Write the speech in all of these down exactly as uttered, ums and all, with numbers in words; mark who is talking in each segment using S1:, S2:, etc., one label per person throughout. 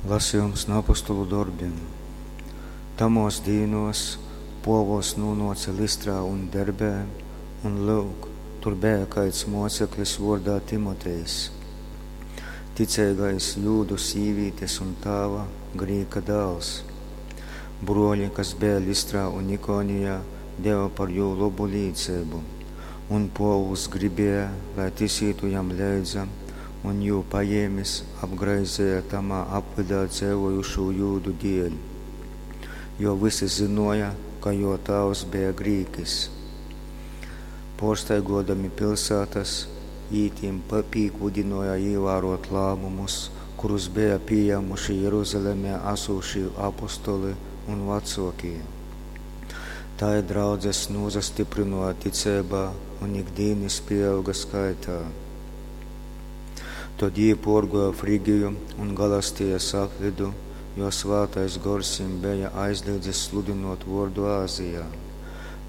S1: Lasejums nu Apostolu dorbim. Tamōs dīnōs Pōvuls nūnōce Lystrā un Derbē, un, lyuk, tur beja kaids mōceklis vōrdā Timotejs, ticeigais jūdu sīvītes un tāva, grīka dāls. Brōli, kas beja Lystrā un Ikonijā, deve par jū lobu līceibu. Un Pōvuls gribēja, lai tys ītu jam leidza, un, jū pajēmis, apgraizeja tamā apvydā dzeivojušū jūdu dēļ, jo vysi zynōja, ka jō tāvs beja grīkis. Pōrstaigōdami piļsātas, jī tim pīkūdynōja īvārōt lāmumus, kurus beja pījāmuši Jeruzalemē asūšī apostoli un vacōkī. Tai draudzes nūsastyprynōja ticeibā un ik dīnas pīauga skaitā. Tod jī pōrgōja Frigiju un Galastijas apvydu, jo Svātais Gors jim beja aizlīdzis sludynōt vōrdu Azijā.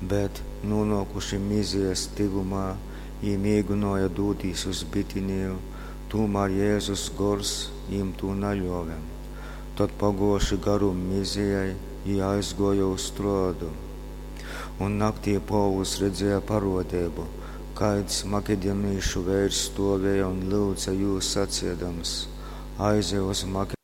S1: Bet, nūnōkuši Myzijas tyvumā, jī mēginōja dūtīs uz Bitiniju, tūmār Jezus Gors jim tū naļōve. Tod, pagōjuši garum Myzijai, jī aizgōja uz Troadu. Un naktī Pōvuls redzēja parōdeibu, kaids makedonīšu veirs stōvēja un lyudze jū saceidams: Aizej uz Makedoniju